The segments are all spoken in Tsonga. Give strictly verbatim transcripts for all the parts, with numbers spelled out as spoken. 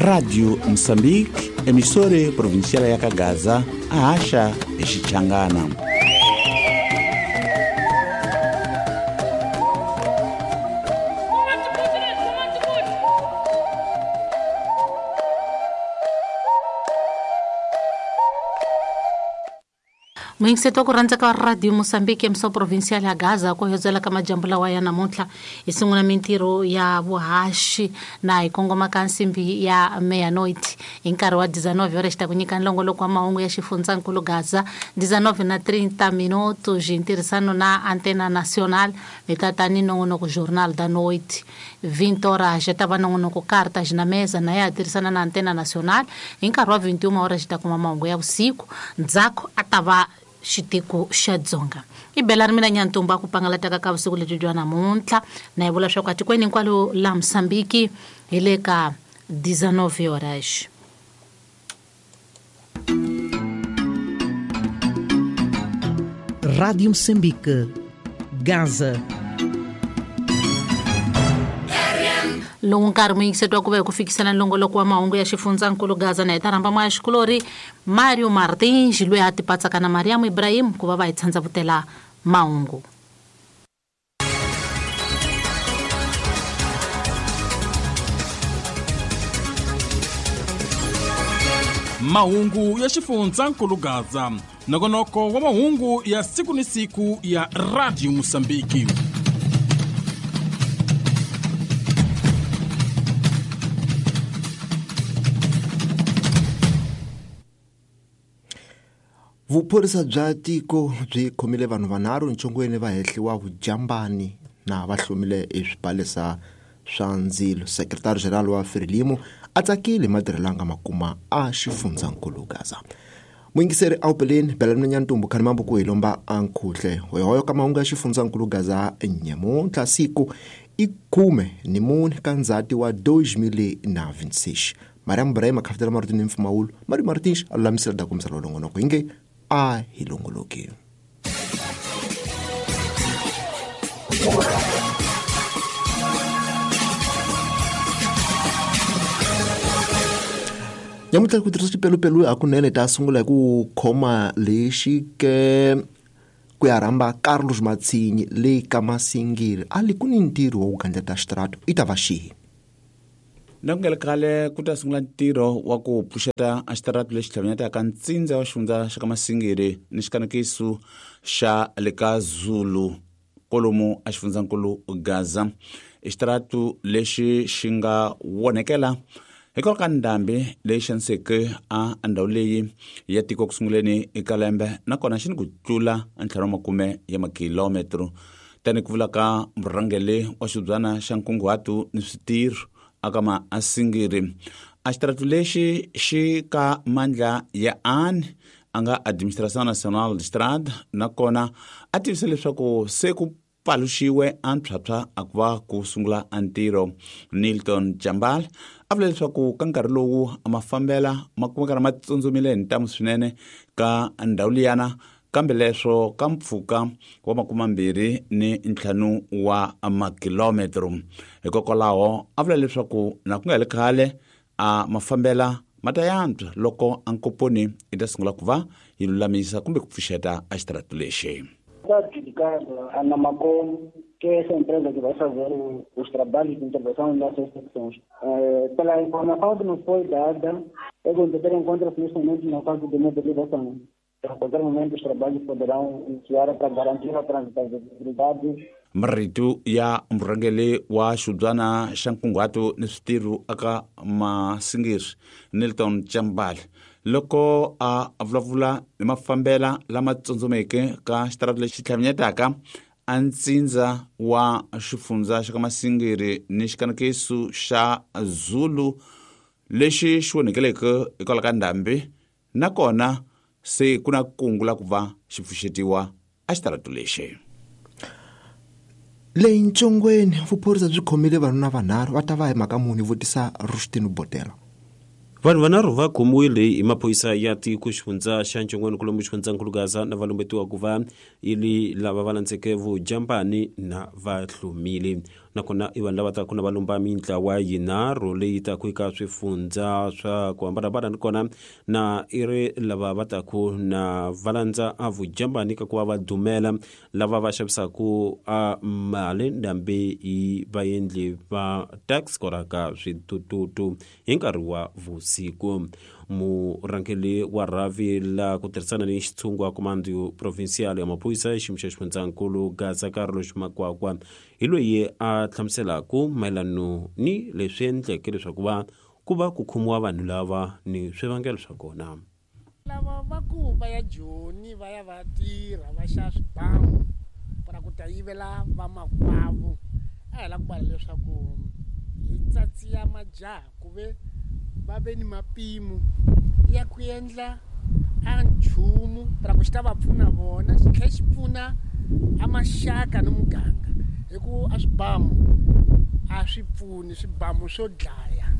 Radio Moçambique, emissora provincial ya Gaza, a Acha e Xichangana. Muyingiseto ku rhandza ka Radio Moçambique emissora provincial ya Gaza ku hedzela ka majambu lawa ya namuntlha hi sungula mintirho ya vuhaxi na hi kongoma ka nsimbi ya meia-noite hi nkarhi wa dezenove horas ta ku nyika nlongoloko wa mahungu ya xifundzankulu Gaza dezenove na trinta minutos hi ntirhisano na Antena Nacional hi ta ta ni nongonoko Jornal da Noite vinte horas ta va nongonoko Cartas na Mesa na ya tirhisana na Antena Nacional hi nkarhi wa vinte e uma horas ta kuma mahungu ya vusiku ndzhaku a ta va xitiko xa Dzonga i bela ri mina Nyantumba ku pangalataka ka vusiku lebyi bya namuntlha na hi vula swa ku atikweni hinkwalo la Mozambique hi le ka dezenove horas. Rádio Moçambique, Gaza. Lowu nkarhi muyingiseto wa ku va hi ku fikisela nlongoloko wa mahungu ya xifundzankulu Gaza na hi ta rhamba moya xikulori Mario Martins loyi a tipatsaka na Mariam Ibrahim ku va va hi tshandzavutela mahungu. Mahungu ya xifundzankulu Gaza, nongonoko wa mahungu ya siku ni siku ya Radio Moçambique. Vuphorisa bya tiko byi khomile vanhu vanharhu ntsongweni va hehliwa vujambani na va hlomile eswibalesa swa ndzilo. Secretary General wa Frelimo a tsakile matirhelo a nga makuma a xifundzankulu Gaza. Muyingiseri awupeleni Belani Nyantumbu khani mambo ku hi lomba a nkhuhle hoyohoyo ka mahungu ya xifundzankulu Gaza nyamuntlha siku i khume ni mune ka ndzhati wa dois mil na vinte e seis. Mariam Ibrahim a khafetela marito ni mpfumawulo Mario Martins a lulamisela dakumisela longonoko hi nge a hi longoloki. Nyamuntlha ku tirhisa xipelupelu hakunene ta sungula hi ku khoma lexi ke ku ya rhamba Carlos Matsinyi le ka Masingiri a li ku ni ntirho wa ku gandleta xitrato i ta va xihi. Na ku nga ri khale ku ta sungula ntirho wa ku pfuxeta a xitaratu lexi tlhavanyetaka ntsindza wa xifundza xa ka Masingiri ni xikanekiso xa le ka Zulu kolomu a xifundzankulu Gaza. I xitaratu lexi xi nga wonekela hikwalaho ka ndhambi leyi xaniseke a ndhawu leyi ya tiko ku sunguleni eka lembe nakona xi ni ku tlula ntlhanu wa makume ya makilometro tani ku vula ka murhangeri wa xibyana xa nkunguhato ni switirho aka Masingiri. A xitaratu lexi xi ka mandla ya ANE a nga Administração Nacional de Estrada nakona a tivisa leswaku se ku paluxiwe a ntshwatshwa a ku va ku sungula a ntirho. Nilton Jambal a vula leswaku ka nkarhi lowu a mafambela ma kumeka ma tsundzumile hi ntamu swinene ka ndhawu liyana kambe leswo ka mpfhuka wa makumambirhi ni ntlhanu wa makilometro. Hikokwalaho a vula leswaku na ku nga heli khale a mafambela ma ta yantswa loko a nkoponi i ta sungula ku va yi lulamisa kumbe ku pfuxeta a xitaratu lexi. Está adjudicado a Namacom, que é essa empresa que vai fazer o, os trabalhos de intervenção nessas secções. É, pela informação que nos foi dada, é que o encontra-se neste momento na fase de mobilização. A qualquer momento os trabalhos poderão iniciar para garantir a transitabilidade. Marito ya murhangeri wa xibyana xa nkunguhato ni switirho aka Masingiri Nilton Jambal loko a vulavula hi mafambela lama tsundzumeke ka xitaratu lexi tlhavanyetaka a ntsindza wa xifundza xa ka Masingiri ni xikanekiso xa Zulu lexi xi onhekeleke hikwalaho ka ndhambi nakona se ku na kungu la ku va xi pfuxetiwa a xitaratu lexi. Leyi ntsongweni vuphorisa byi khomile vanhu vanharhu va ta va hi mhaka muni vutisa Rustin Botela. Vanhu vanharhu va khomiwile hi maphorisa ya tiko xifundza xa Ntshongweni kwalomu xifundzankulu Gaza na va lumbetiwa ku va ili lava va landzeke vujambani na va hlomile. Nakona i vanhu lava taka na va lumba mintlawa yinharhu leyi taka eka swifundza swa ku hambanahambana, ni kona na i ri lava va taka na va landza a vujambani ka ku va va dumela lava va xavisaka a mali ndhambi hi vaendli va tax koraka switututu hi nkarhi wa vusiku. Murhangeri wa rhavi la ku tirhisana ni xitshungu wa Comando Provincial ya maphorisa xiyimo xa xifundzankulu Gaza Carlos Makwakwa hi loyi a hlamuselaka mayelano ni leswi endleke leswaku va ku va ku khomiwa vanhu lava ni swivangelo swa kona. Lava va ku va ya Joni va ya va tirha va xava swibamu para ku ta yivela vamakwavo, a hi lava ku vula leswaku hi tsatsiya majaha ku ve va ve ni mapimo ya ku endla a nchumu para ku xi ta va pfuna vona, xi tlhela xi pfuna a maxaka ni muganga, hi ku a swibamu a swi pfuni, swibamu swo dlaya.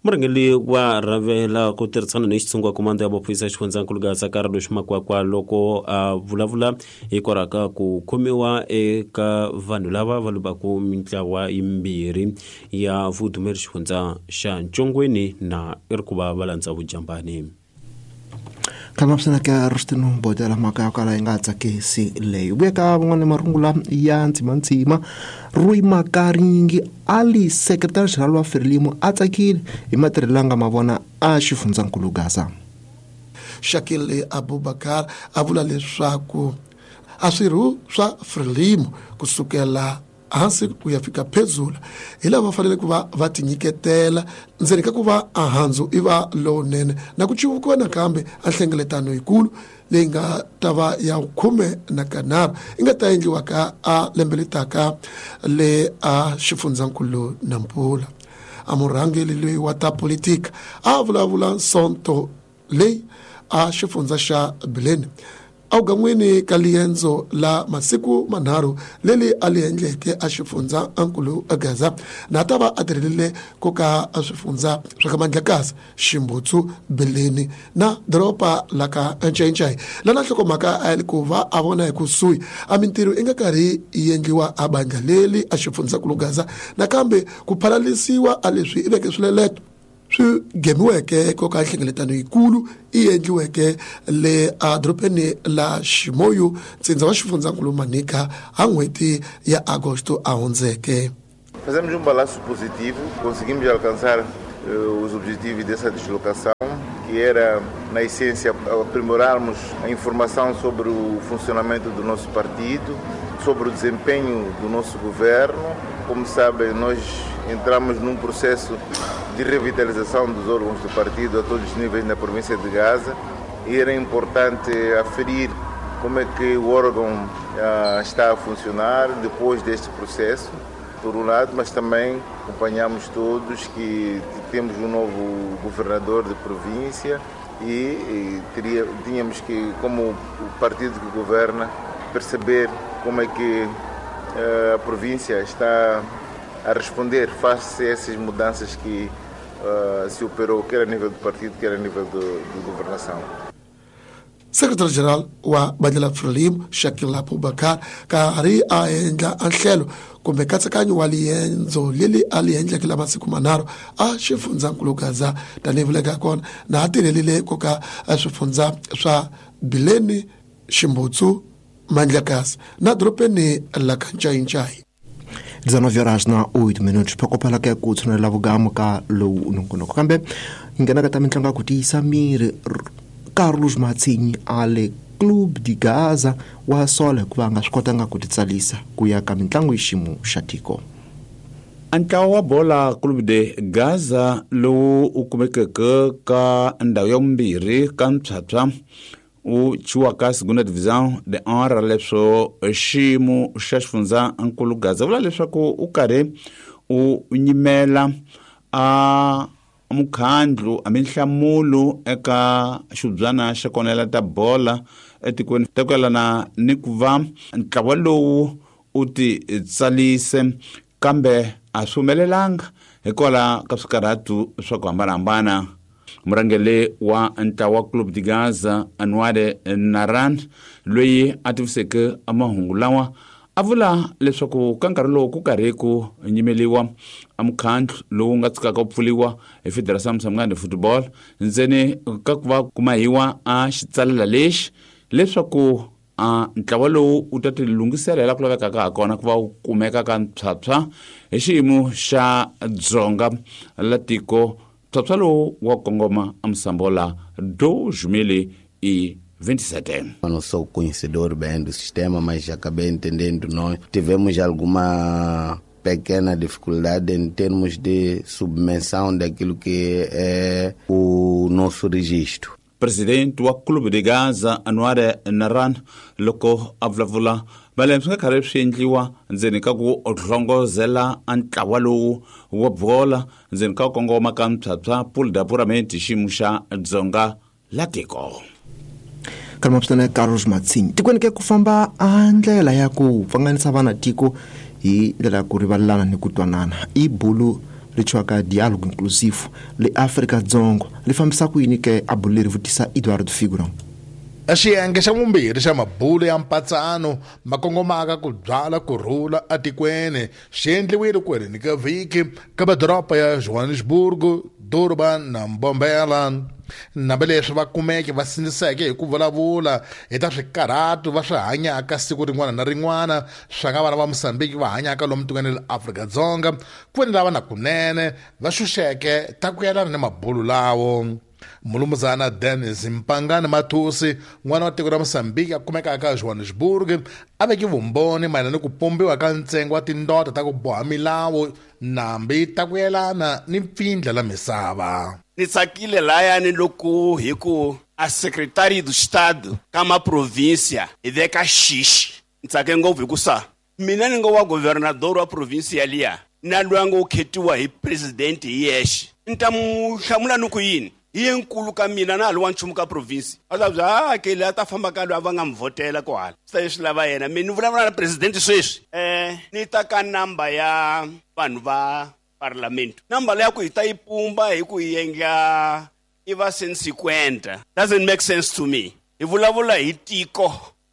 Murhangeri wa rhavela ku tirhisana ni xitshungu wa Comando ya maphorisa xifundzankulu Gaza Carlos Makwakwa loko a vulavula hikwalaho ka ku khomiwa eka vanhu lava va lumbaka mintlawa yimbirhi ya vudumeri xifundza xa Ntshongweni na i ri ku va va landza vujambani. Kama ka Rustino Bodela mhaka ya kala yi nga tsakisi leyi. Vuya ka van'wana marungula ya ndzimandzima, Rui Makaringi ali secretary general wa Frelimo a tsakile hi matirhelo ya nga ma vona a xifundzankulu Gaza. Shakil Abubakar a vula leswaku a swirho swa Frelimo kusukela hansi ku ya fika phezulu hi lava fanele ku va va tinyiketela ndzeni ka ku va ahandzu i va lowunene na ku civukiwa nakambe a nhlengeletano yikulu leyi nga ta va ya khume na kanharhu yi nga ta endliwa ka a lembe letaka le a xifundzankulu Nampula. A murhangeri loyi wa ta politika a vulavula Sonto leyi a xifundza xa Bileni awugan'wini ka liendzo la masiku manharhu leli a li endleke a xifundza ankulu Gaza na ta va a tirhelile ku ka a swifundza swa ka Mandlakazi, Ximbutsu, Bileni na doroba la ka Ncayincai. Lana nhlokomhaka a yi ku va a vona hi kusuhi a mintirho i nga karhi yi endliwa a bandla leli a xifundzankulu Gaza nakambe ku phalalisiwa a leswi i veke swileleto swi gemiweke ko ka nhlengeletano yikulu yi endliweke le a dorobeni la Ximoyo ntsindza wa xifundzankulu Manica ha n'hweti ya Agosto a hundzeke. Fazemos um balanço positivo, conseguimos alcançar uh, os objetivos dessa deslocação, que era, na essência, aprimorarmos a informação sobre o funcionamento do nosso partido, sobre o desempenho do nosso governo. Como sabem, nós entramos num processo de revitalização dos órgãos do partido a todos os níveis na província de Gaza e era importante aferir como é que o órgão ah, está a funcionar depois deste processo, por um lado, mas também acompanhamos todos que temos um novo governador de província e, e teria, tínhamos que, como o partido que governa, perceber como é que ah, a província está a responder face a essas mudanças que uh, se operou, quer a nível do partido, quer a nível de governação. Secretary-General wa bandla Frelimo Shakil Abubakar karhi a endla nhlelo kumbe nkatsakanyo wa liendzo leri a li endleke la masiku manharhu a xifundzankulu Gaza tanihi vuleka kona na a tirhelile ko ka swifundza swa Bileni, Ximbutsu, Mandlakazi na dorobeni la ka Ncayincai. dezenove horas na oito minutos phokopela ke ku tshunela vugamu ka lowu nongonoko kambe hi nghena ka ta mitlangu ya ku tiyisa miri. Carlos Matsinyi a le Clube de Gaza wa sola hikuva a nga swi kotanga ku titsalisa ku ya ka mitlangu hi xiyimo xa tiko. Ntlawa wa bola Clube de Gaza lowu u kumekeke ka ndhawu ya vumbirhi ka mphyapya u chiwaka Segunda Divisão de Honra leswo xiyimo xa xifundzankulu Gaza vula leswaku u karhi u nyimela a mukhandlu a minhlamulo eka xibyana xa konela ta bola etikweni ta ku yelana ni ku va ntlawa lowu u ti tsalise kambe a swi humelelanga hikwalaho ka swikarhatu swa ku hambanahambana. Murhangeri wa ntlawa Clube de Gaza Anwar Naran loyi a tiviseke mahungu lawa A vula leswaku ka nkarhi lowu ku karhi ku nyimeliwa a mukhandlu lowu nga tshikaka ku pfuliwa hi Federação Moçambicana de Futebol ndzeni ka ku va kumahiwa a xitsalela lexi leswaku a ntlawa lowu wu ta ti lunghisela la ku lavekaka ha kona ku va wu kumeka ka mphyaphywa hi xiyimo xa dzonga la tiko. Mphyaphywa lowu wa kongoma a Moçambola dois mil e vinte e sete. Eu não sou conhecedor bem do sistema, mas acabei entendendo. Nós tivemos alguma pequena dificuldade em termos de submissão daquilo que é o nosso registro. Presidente wa Clube de Gaza Anwar Naran loko a vulavula vale swi nga karhi swi endliwa ndzeni ka ku hlongozela a ntlawa lowu wa bola ndzeni ka ku kongoma ka mphyaphywa pool d'apuramento xiyimo xa dzonga la tiko. Kalmapsana Carlos Matsini tikweni ke ku famba a ndlela ya ku pfanganisa vana tiko hi ndlela ya ku rivalelana ni ku twanana i bulu ri tshwaka dialogue inclusive le Afrika Dzonga li fambisa ku yini ke a bulu leri vutisa Eduardo Figurão. Xiyenge xa vumbirhi xa mabulo ya mpatsano ma kongomaka ku byala kurhula etikweni xi endliwile ku heleni ka vhiki ka madoroba ya Johannesburg, Durban na Mbombela. Nambe leswi va kumeke va sindziseke hi ku vulavula hi ta swikarhatu va swi hanyaka siku rin'wana na rin'wana swa nga vana va Mozambique va hanyaka lomu tikweni la Afrika-Dzonga ku ni lava na kunene va xuxeke ta ku yelana ni mabulo lawo. Mulumuzana Dennis Mpangani Mathusi n'wana wa tiko ra Mozambique a kumekaka eJohannesburg a veke vumbhoni mayelana ni ku pumbiwa ka ntsengo wa tindota ta ku boha milawu nambi ta ku yelana ni mpfindla la misava. Ni tsakile layani loko hi ku a secretary do estado ka ma província hi veka xixi. Ni tsake ngopfu hi ku sa mina ni nga wa governador wa província liya na loyi a ngo khetiwa hi president hi yexe ni ta mu hlamula ni ku yini hi yenkulu ka mina na ha li wa nchumu ka province a ta bya a ke leyi a ta famba ka loyi a va nga mi vhotela ko hala swi ta leswi lava yena mi ni vulavula na president sweswi um ni ta ka namba ya vanhu va parlamento namba leyi ya ku hi ta yi pumba hi ku yi endla i va cent cinquanta doesn't make sense to me. Hi vulavula hi tiko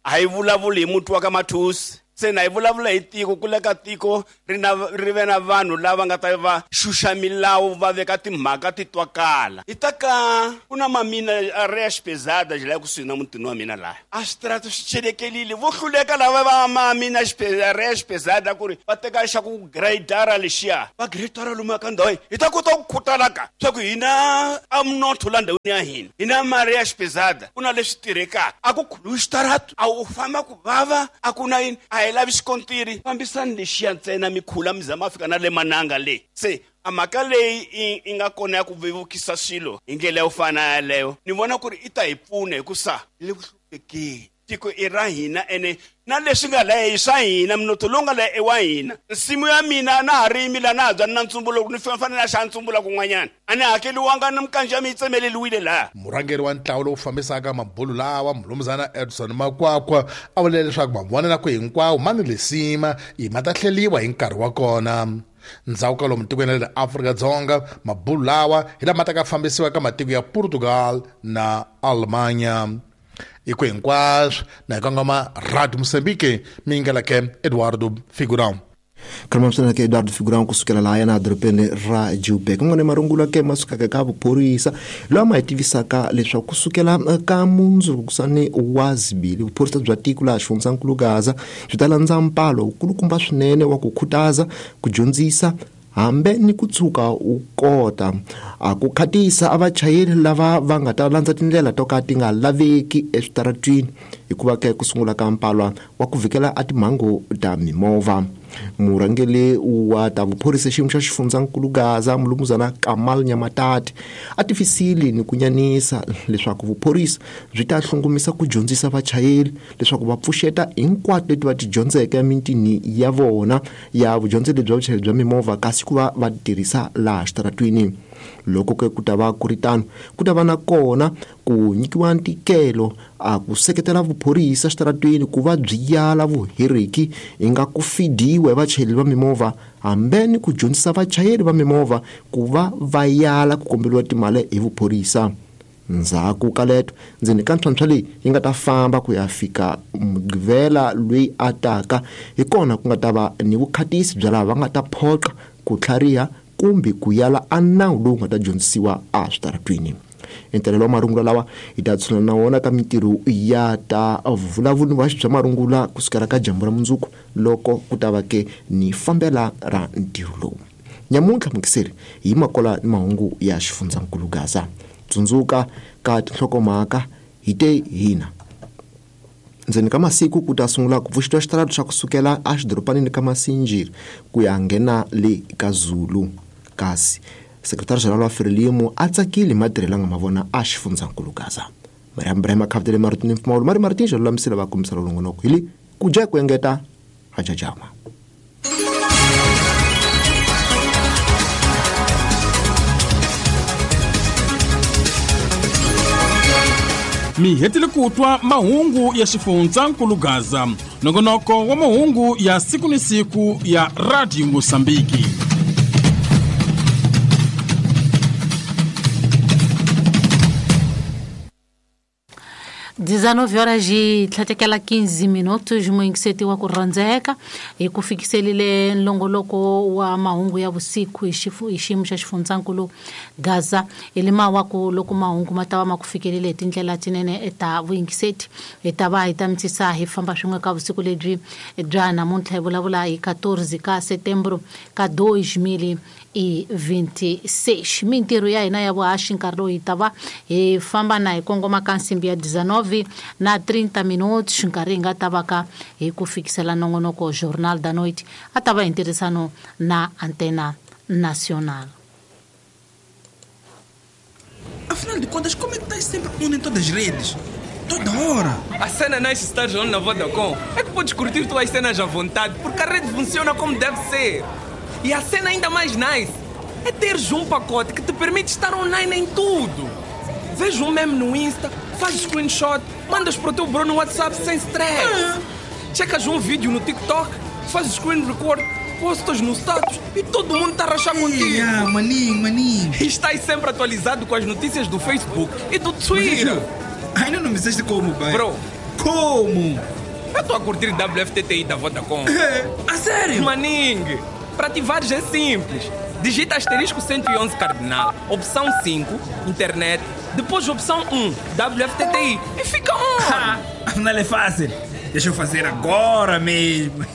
a hi vulavuli hi muti wa ka Mathusi se na hi vulavula hi tiko ku le ka tiko ri na ri ve na vanhu lava nga ta va xuxa milawu va veka timhaka ti twakala hi ta ka ku na mamina areias pesadas laha kusuhi na mutini wa mina laha a switarata swi chelekelile vo hluleka lava va mamina areias pesada ku ri va teka xa ku gradara lexiya va gradara lomu ka ndhawu hi ta kota ku khutala ka swa ku hina a mnotho la ndhawini ya hina hina ma-areias pesada ku na leswi tirhekaka a ku khuluwi xitarato a wu famba ku vava a ku na yini a hi lavi xikontiri fambisani lexiya ntsena mikhula mi zama fika na le mananga le se a mhaka leyi i nga kona ya ku vevukisa swilo hi ndlela yo fana yaleyo ni vona ku ri i ta hi pfuna hi ku sa le ku hluphekeni tiko i ra hina ene na leswi nga laha i swa hina mnotho lowu nga laha i wa hina nsimu ya mina na ha rimi laha na ha byani na ntsumbulo ni fanele a xa ntsumbula kun'wanyana a ni hakeliwanga na mikanjo ya mi yi tsemeleliwile laha. Murhangeri wa ntlawa lowu fambisaka mabulo lawa mulumuzana Edson Makwakwa a vule leswaku mavonelo ku hinkwawo ma ni lisima i ma ta hleliwa hi nkarhi wa kona. Ndzhaku ka lomu tikweni ra le Afrika-Dzonga mabulo lawa hi lama ta ka fambisiwa ka matiko ya Portugal na Alemanha. Iko hinkwaswo na hi kongoma Radio Mozambique mi ngela ke Eduardo Figurão. Kalmamsana ke Eduardo Figurão kusukela laha na dorobeni ra Joburg n'wana marungula ke ma sukaka ka vuphorisa loyi ma hi tivisaka leswaku kusukela ka mundzukusani wa zibili vuphorisa bya tiko laha xifundzankulu Gaza byi ta landza mpalo wukulukumba swinene wa ku khutaza ku dyondzisa hambe ni ku tshuka u kota a ku khatisa a vachayeri lava va nga ta landza tindlela to ka ti nga laveki eswitaratwini hikuva ke ku sungula ka mpalwa wa ku vikela a timhangu ta mimovha. Murhangeri wa ta vuphorisa xiyimo xa xifundzankulu Gaza mulumuzana Kamal Nyamatati a tifisile ni ku nyanisa leswaku vuphorisa byi ta hlongomisa ku dyondzisa vachayeri leswaku va pfuxeta hinkwato leti va ti dyondzeke emitini ya vona ya vudyondzeli bya vuchayeri bya mimovha kasi ku va va tirhisa laha xitaratwini. Loko ke ku ta va ku ri tano ku ta va na kona ku nyikiwa ntikelo a ku seketela vuphorisa xitaratwini ku va byi yala vuheriki hi nga ku fidiwa hi vachayeri va mimovha hambe ni ku dyondzisa vachayeri va mimovha ku va va yala ku komberiwa timali hi vuphorisa. Ndzhaku ka leto ndzeni ka ntlhontlho leyi yi nga ta famba ku ya fika Mugqivela loyi a taka, hi kona ku nga ta va ni vukhatisi bya lava va nga ta phoqa ku tlhariha kumbe ku yala a nawu lowu nga ta dyondzisiwa eswitaratwini. Entelelo wa marungula lawa hi ta tshuna na wona ka mintirho ya ta vulavuli wa bya marungula kusukela ka dyambu ra mundzuku loko ku ta va ke ni fambela ra ntirho lowu. Nyamuntlha mukiseri hi makola ni mahungu ya xifundzankulu Gaza. Tsundzuka ka tinhlokomhaka hi te hina. Ndzeni ka masiku ku ta sungula ku pfuxetiwa xitarata xa kusukela exidorobanini ka Masinjiri ku ya nghena le ka Zulu. Kasi Secretary General wa Frelimo a tsakile matirhelo nga mavona a xifundzankulu Gaza. Mariam Brahma Khavdele Martin Mfumawulo Mari Martin xo lulamisela va kombisela longonoko hi le ku dya ku engeta hajajama. Mi hetile ku twa mahungu ya xifundzankulu Gaza, nongonoko wa mahungu ya siku ni siku ya Radio Mosambiki. dezenove horas e tlhatekela quinze minutos muingiseti wa ku rhandzeka hi ku fikiselile nlongoloko wa mahungu ya vusiku hi xifu hi xiyimo xa xifundzankulu Gaza. Hi lima wa ku loko mahungu ma ta va ma ku fikelele hi tindlela tinene eta vuyingiseti hi ta va hi ta mitisa hi famba swin'we ka vusiku lebyi bya namuntlha hi vulavula hi quatorze ka setembro ka dois mil e vinte e seis. Mintirho ya hina ya vuhaxi nkarhi lowu hi ta va hi famba na hi kongoma ka nsimbi ya dezenove na trinta minutos nkarhi hi nga ta va ka hi ku fikisela nongonoko Jornal da Noite a ta va hi ntirhisano na Antena Nacional. Afinal de contas, como é que estás sempre on em todas as redes? Toda hora! A cena nice estar on na Vodacom é que podes curtir tuas cenas à vontade, porque a rede funciona como deve ser. E a cena ainda mais nice é teres um pacote que te permite estar online em tudo. Vês um meme no Insta, fazes screenshot, mandas para o teu bro no WhatsApp sem stress. Ah. Checas um vídeo no TikTok, fazes screen record, postas no status e todo mundo está a rachar contigo. Ah, maninho, maninho. E estás sempre atualizado com as notícias do Facebook e do Twitter. Mas, ainda não me disseste como, pai. Bro. Como? Eu estou a curtir W F T T I da Vodacom. É, a sério? Maninho, para ativares é simples. Digita asterisco cento e onze cardinal, opção cinco, internet, depois opção um, W F T T I e fica on! Afinal é fácil. Deixa eu fazer agora mesmo.